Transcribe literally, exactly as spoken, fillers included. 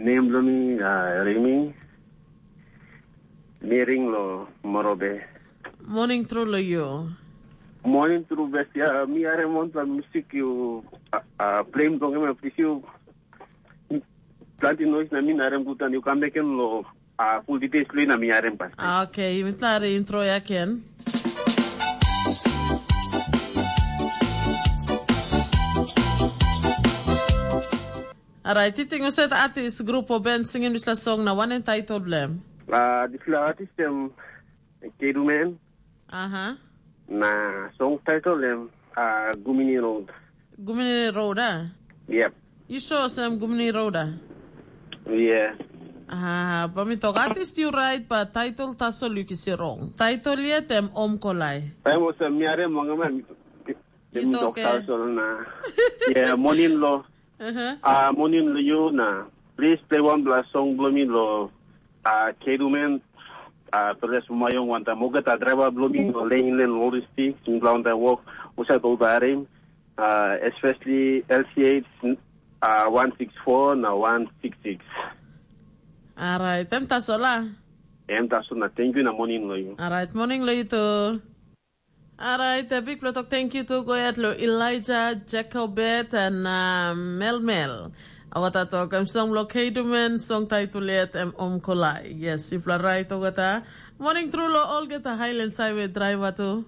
Nem bilong mi uh, Rimi. Mi ring lo Morobe. Morning tru lo you. Morning tru best ya. Mi are monta musik you uh, uh, play bilong em please you. Planti noise na mi narem gutan you come back lo uh, full details lo na mi arem pas. Okay, mi tla intro ya ken. Alright, titing uset artist grupo band singing dispela song na wanem title blem? Uh, dispela artist em Keduman. Aha. Na song title em uh, Gumini Road. Gumini Road, ah? Yep. You sure sem Gumini Road, ah? Yeah. Ah, ba mi tok artist you right, but title tasol you kisi wrong. Title yet em Om Kolai. Em was a miare mongama mi mi tok tasol na. Yeah, morning lo. Uh-huh. Ah, morning lo you na. Please play one blast song blo mi lo. Ah, Keduman. Ah, peres mo mayong wanta moga ta driver blo mi lo lane lane loristi. Sing blo wanta walk. Usa to barim. Uh, especially L C H uh, one six four na one six six. Alright, em tasol ah. Em tasol na thank you na morning lo you. Alright, morning lo you too. Alright, a big plot of thank you to go at lo Elijah, Jacobet and uh, Mel Mel. Awata tok em song lo Kedumen, song title yet em Om Kolai. Yes, if la right ogata. Morning through lo olgeta Highlands Highway driver too.